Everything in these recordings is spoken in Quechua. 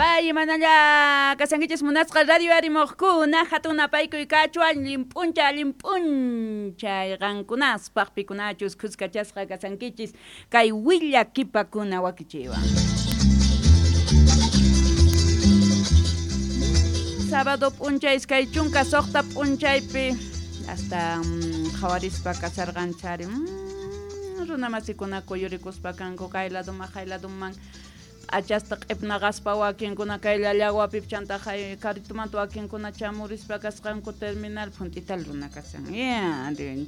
Bay manalla kasankichis munasqa radio arimuqkuna hatun napaykuy kachuan llimp'uncha llimp'unchay qankunaspaq pikunachus khuskachasqa kasankichis kay willakipakuna wakichiwan. Sábado p'unchay iskay chunka suqta p'unchaypi hasta qhawarispa kasarqanchari runamasikuna kuyurikuspa kanku kay laduman hay laduman p'achasta q'ipnaqaspa wakinkuna kay llallawapi chanta hay karitumanta wakinkuna chamurispa kasqanku terminal phunt'ital runa kasan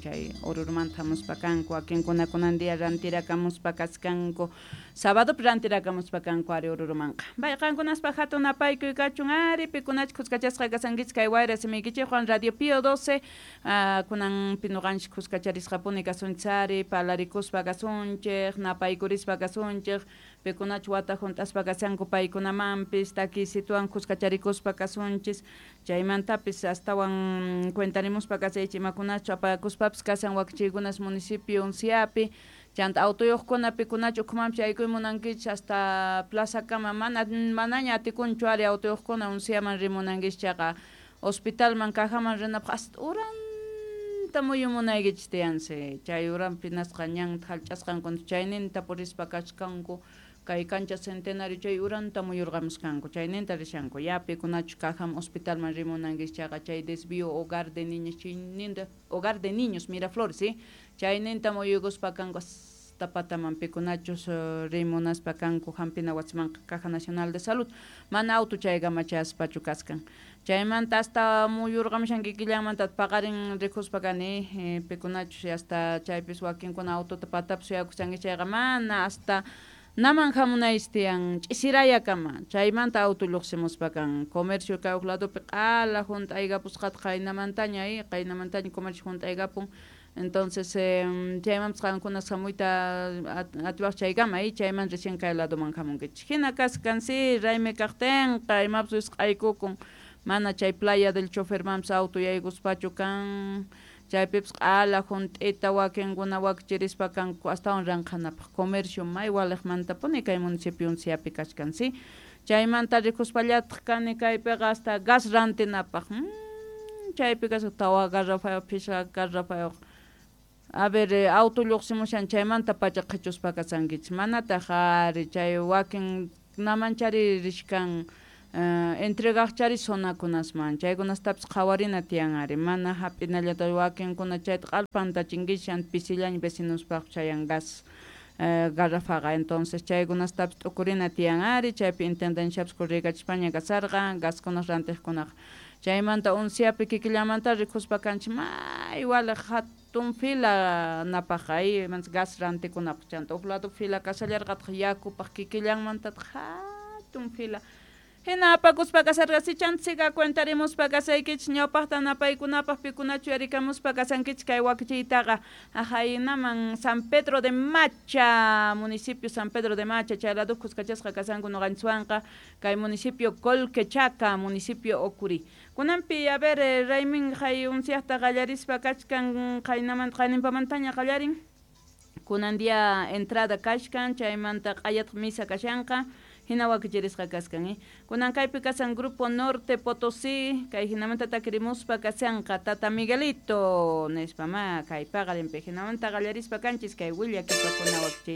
chay Orurumanta hamuspa kanku wakinkuna kunan día rantirakamuspa kaskanku sabadopi rantirakamuspa kanku ari Orurumanqa bay qankunaspa hatun napaykuy kachun ari pikunachus khuskachasqa kasankichis kay wayra simiykichikwan Radio Pío 12 kunanpi nuqanchis khuskacharisqapuni kasunchis ari parlarikuspa kasunchik napaykurispa kasunchik pikunachus wata hunt'aspa kashanku paykunamanpis takiysituwan khuskacharikuspa kasunchis chaymantapis astawan cuentarimuspa kasaychik imakunachu apakuspapis kashan wakichiykunas municipio Unciapi chanta autoyuqkuna pikunachu ukhumanpis yaykuy munankichis hasta plazakama mana manaña atikunchu ari autoyuqkuna Unciaman rimunankichis chayqa hospitalman cajaman rinapaq hasta uranta muyumunaykichis tiyansi chay uranpi nasqa ñanta hallch'asqanku chayninta purispa kachkanku kay cancha centenario chay uranta muyurqamusqanku chayninta rishanku ya pikunachus cajaman hospitalman rimunankichis chayqa chay desvío hogar de niños chayninta hogar de niños Miraflores ¿sí? Chayninta muyuykuspa kanku hasta pataman pikunachus rimunaspa kanku hampina wasimanqa Caja Nacional de Salud mana auto chaykama chayaspachu kaskan chaymanta hasta muyurqamushan kikillanmanta paqarin rikuspa kani pikunachus hasta chaypis wakinkuna autota patapi suyakushanki chayqa mana hasta naman hamunaychis tiyan ch'isirayakama chaymanta auto lluqsimuspa kan comercio kay huk ladopi q'ala hunt'aykapusqata qaynamantaña qaynamantaña comercio hunt'aykapun entonces chaymanpas qankuna hamuyta atiwaq chaykama chayman recién kay ladoman hamunkichis hina kaskan si raymi kaqtinqa imapas wisq'aykukun mana chay playa del chofermanpas auto yaykuspachu kan chaypipas q'ala hunt'ita wakinkuna wakichirispa kanku astawan ranqhanapaq comercio may waliqmantapuni kay municipio Unciapi kachkan si chaymanta rikuspallataq kani kaypiqa hasta gas rantinapaq chaypi kasqa tawa garrafayuq phishqa garrafayuq a ver auto lluqsimushan chaymanta pacha qhichuspa kasankichis manataq ari chay wakin namanchari rishkan entregaqchari zonakunasman chaykunastapis qhawarina tiyan ari mana hap'inallata wakinkuna chayta q'alpantachinkichis pisillaña vecinospaq chayan gas garrafaqa entonces chaykunastapis t'ukurina tiyan ari chaypi intendenciapis corriykachispaña kasarqa gaskunaq rantiqkunaqa chaymanta Unciapi kikillamanta rikuspa kanchis may waliq hatun fila napaq gas rantikunapaq chanta huk lado fila kashallarqataq yakupaq kikillanmantataq hatun fila hina apakuspa kasarqa si chanta cuentarimuspa kasaykichis ñawpaqta napaykunapaq pikunachu yarikamuspa kasankichis kay wakichiytaqa ahaynaman San Pedro de Macha municipio San Pedro de Macha chay lado khuskachasqa kasanku nuqanchikwanqa kay municipio Colquechaca municipio Ocurí kunanpi a ver raymin hay Unciaqta qallarispa kachkan qaynamanta qayninpamantaña qallarin kunan día entrada kachkan chaymanta q'ayataq misa kashanqa hina wakichirisqa kaskan kunan kaypi kasan Grupo Norte Potosí kay hinamanta takirimuspa kashanqa Tata Miguelito nispa ma kay paqarinpi hinamanta qallarispa kanchis kay willakipakuna wakichiyta.